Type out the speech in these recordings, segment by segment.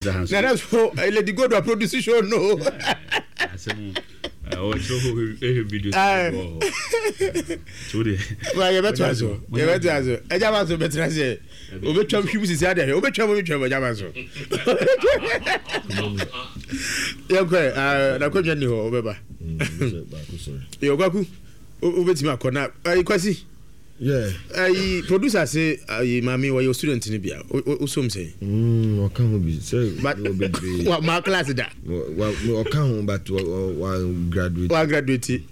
Na na so eh, Lady Gold wa produce show no. Asɛm ɔkyerɛ hɔ ɛhwɛ video sɛ wɔ hɔ. So de. Wa yɛ bɛto aso. Yɛ bɛto aso. Ɛgya ba so bɛtena sɛ obɛtwam hwim sisi ade ahwɛ. Obɛtwam obɛtwam ɛgya ba so. Yɛnkɔ ɛ na kɔdwa ni hɔ ɔbɛba. Yɛ ɔkwaku wobɛtumi akɔ na ayi kwasi. Yeah. Ayi producer se ayi maame wɔyɛ student ni bia o som sɛn. Ɔka ho bi sɛ wɔ bebree. Wa ma class da. Wa ɔka ho but wa graduate. Wa graduate.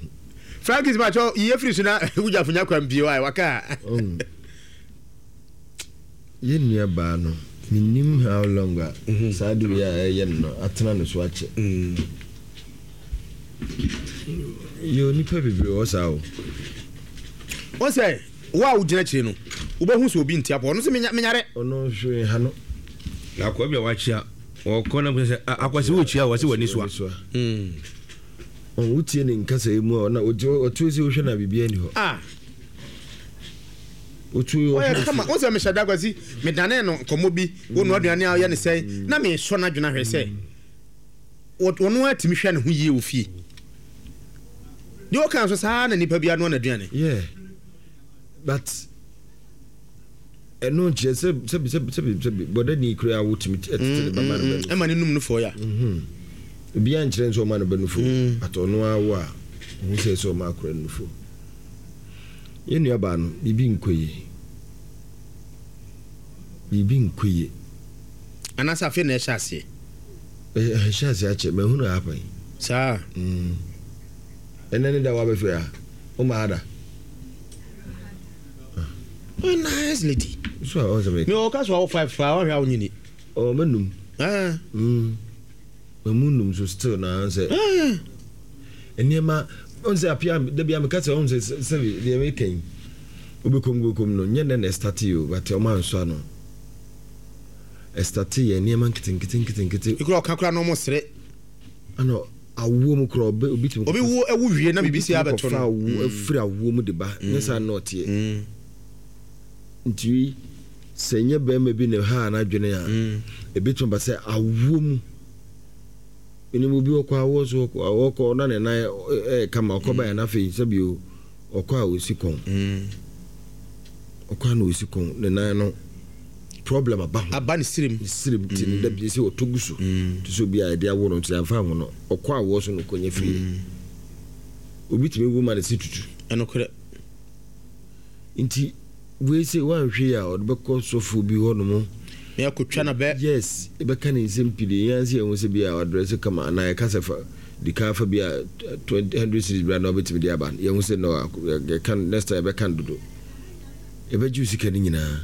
Frankis ma kyɛw yiye firi so na wugya funya kwan pie wa waka. Yɛ nua baa no menim how long a mhm. saa de wei a ɛyɛ no no atena no so akyɛ. Yɛ onipa bebree wɔ saa o. Wɔn sɛ wo a wogyina akyire no wobɛhu sɛ obi nte apɔ ɔno sɛ menyare. Ɔno hwee ha no. Na akoa bi a wakyia ɔkɔ na sɛ akwasi wokyia wɔ sɛ w'ani soa. Ɔn wotie ne nkasa yi mu a ɔna ɔtuo sɛ wohwɛ na biribi ani hɔ. Ah. Otuo ɔyɛ kama wɔn sɛ mehyɛ da kwasi medane no nkɔmmɔ bi wo noa aduane a ɔyɛ ne sɛn na mesɔ n'adwene ahwɛ sɛ ɔno ara tumi hwɛ ne ho yie wɔ fie. Deɛ ɔka nso saa na nipa bi anoa n'aduane. Yeah, but ɛno nkyerɛ sɛ sɛbi sɛbi sɛbi sɛbi bɔdani kura a wotumi tete ne ba ma no bɛ nufu. Ɛma ne num no fɔ ya. Obiara nkyerɛ nso ɔma no bɛ nufu but ɔno ara wo a ɔho sɛ sɛ ɔma akora nufu. Yɛn nua baa no biribi nkɔ yie. Biribi nkɔ yie. Anaasɛ afei na ɛhyɛ aseɛ. Ɛhyɛ aseɛ akyɛ mahunu ha pɛn. Saa. Mm. Ɛnɛ ne da wabɛfiri ha. Woma ha da. Oh, nice lady. So a ɔsɛ me. Me ɔka so awo 5 fa ɔhwɛ awo nyini. Oh, menum. Ah. Mm. Mamu num so still na sɛ. Ah. Nneɛma ɔn sɛ apia da bia meka sɛ ɔn sɛ sɛ deɛ meka yi. Wobɛkɔm wobɛkɔm no nyɛ nɛ na ɛstarte o but ɔma nsɔ ano. Ɛstate yɛ nneɛma nketenkete nketenkete. Ekura ɔka kura na ɔmo sere. Ɛna awoɔ mu kura ɔbɛ obi tumi. Obi wo ɛwo wie na biribi si abɛto no. Obi tumi kɔfa awo afiri awoɔ mu de ba nyɛ saa na ɔteɛ. Nti sɛ nyɛ bɛrima bi na ɛhaa n'adwene a ebetumi aba sɛ awoɔ mu. Menim obi ɔkɔ awoɔ so ɔkɔ na ne nan ɛyɛ kama ɔkɔ baeɛ na afei sɛbi o. Ɔkɔ a osi kɔn. Ɔkɔ a na osi kɔn ne nan no problem aba ho. Aba ne sirim. Ne sirim ti no da bi sɛ ɔtɔ gu so. Te sɛ obi a yɛde awo no nti yɛamfa anwo no. Ɔkɔ awoɔ so na ɔkɔnya firi. Obi tumi wo ma ne se tutu. Ɛnokorɛ. Nti wei sei woanhwɛ yi a ɔde bɛkɔ sɔfoɔ bi hɔ nom. Na yɛakɔtwa no abɛ. Yes, yɛbɛka ne nsɛm pii de yɛn ara sɛ yɛhu sɛ bi a ɔdrɛse kama anaa yɛka sɛ fa di kan fa bi a 20 hundred cedis bra na wobɛtumi de aba. Yɛhu sɛ no yɛka next time yɛbɛka no dodo. Yɛbɛgye wo sika no nyinaa.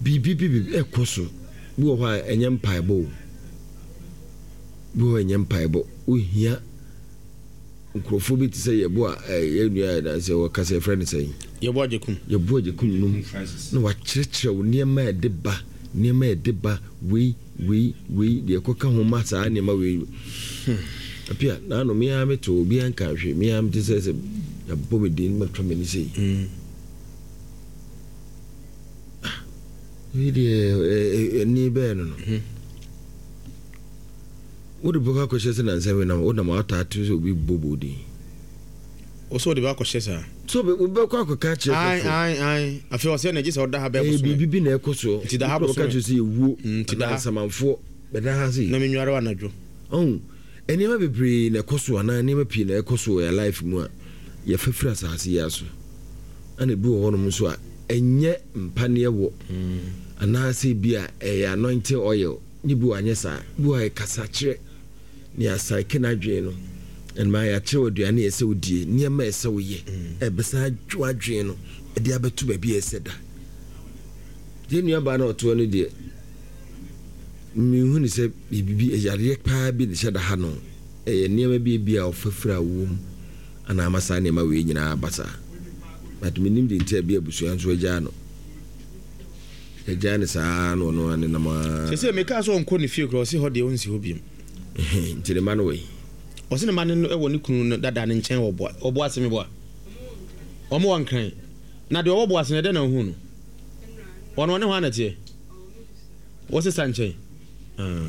Biribi bi biribi ɛkɔ so. Bi wɔ hɔ a ɛnyɛ mpaebɔ o. Bi wɔ hɔ a ɛnyɛ mpaebɔ. Wohia Nkurɔfoɔ bi te sɛ Yɛbo a yɛn nua a na sɛ wɔka sɛ yɛfrɛ no sɛn? Yɛbo Agyekum. Yɛbo Agyekum nom na wakyerɛkyerɛ wo nneɛma a ɛde ba, nneɛma a ɛde ba, wei, wei, wei, deɛ ɛkɔka ho ma saa nneɛma wei. Hmm. Apia, na ano me ara meto obiara nka hwee, me ara mete sɛ sɛ yɛabɔ me din matwa m'ani sei. Mm. Ah, wei deɛ ɛni bɛɛ no no. Mm. Wode bɛkɔ akɔhyɛ sɛ nansa wei na wonam ataa te sɛ obi bɔ bɔ din. Wo sɛ wode bɛ akɔhyɛ saa. So wobɛkɔ akɔka akyerɛ sɔfo. Ae ae ae afei ɔsɛ na gye sɛ ɔda ha bɛɛ bosome. Ɛyɛ biribi bi na ɛkɔ soɔ. Nti da ha bosome. Wokɔ kyerɛ sɛ yɛwuo. Nti da ha. Anaa nsamanfoɔ bɛda ha sei. Na menware wo anadwo. Ɔhu nneɛma bebree na ɛkɔ so anaa nneɛma pii na ɛkɔ so wɔ yɛn life mu a yɛfa firi asase yi aso. Ɛna ebi wɔ hɔnom nso a ɛnyɛ mpaneɛ wɔ anaasɛ ebi a ɛyɛ anointing oil. Ne bi wɔ anyɛ saa. Bi wɔ a ɛkasakyerɛ ne asaeke n'adwene no. Ɛnma yɛakyerɛ wo aduane a ɛsɛ wodie, nneɛma a ɛsɛ woyɛ. Ɛbɛsan adwo adwene no de abɛto baabi a ɛsɛ da. Yɛn nuabaa no a ɔtoɔ no deɛ, menhu ne sɛ biribi, yareɛ paa bi na ɛhyɛ da ha no. Ɛyɛ nneɛma bi ebi a ɔfa firi awoɔ mu ana ama saa nneɛma wei nyinaa aba saa. But mennim deɛ nti a bi abusua nso agyaa no. Yɛgyae no saa ara na ɔno ara nenam ara. Seesei mekaa sɛ ɔnkɔ ne fie koraa, ɔse hɔ deɛ ɔnsi hɔ biom. Nti ne mma no wɔ he? Ɔse ne mma no wɔ ne kunu no dada no nkyɛn wɔ Boa, wɔ Boase meboa? Wɔn wɔ Nkran. Na deɛ ɔwɔ Boase no ɛdɛn na wohuu no? Ɔno ɔne hwan na ɛteɛ? Wo sesa nkyɛn? Ah.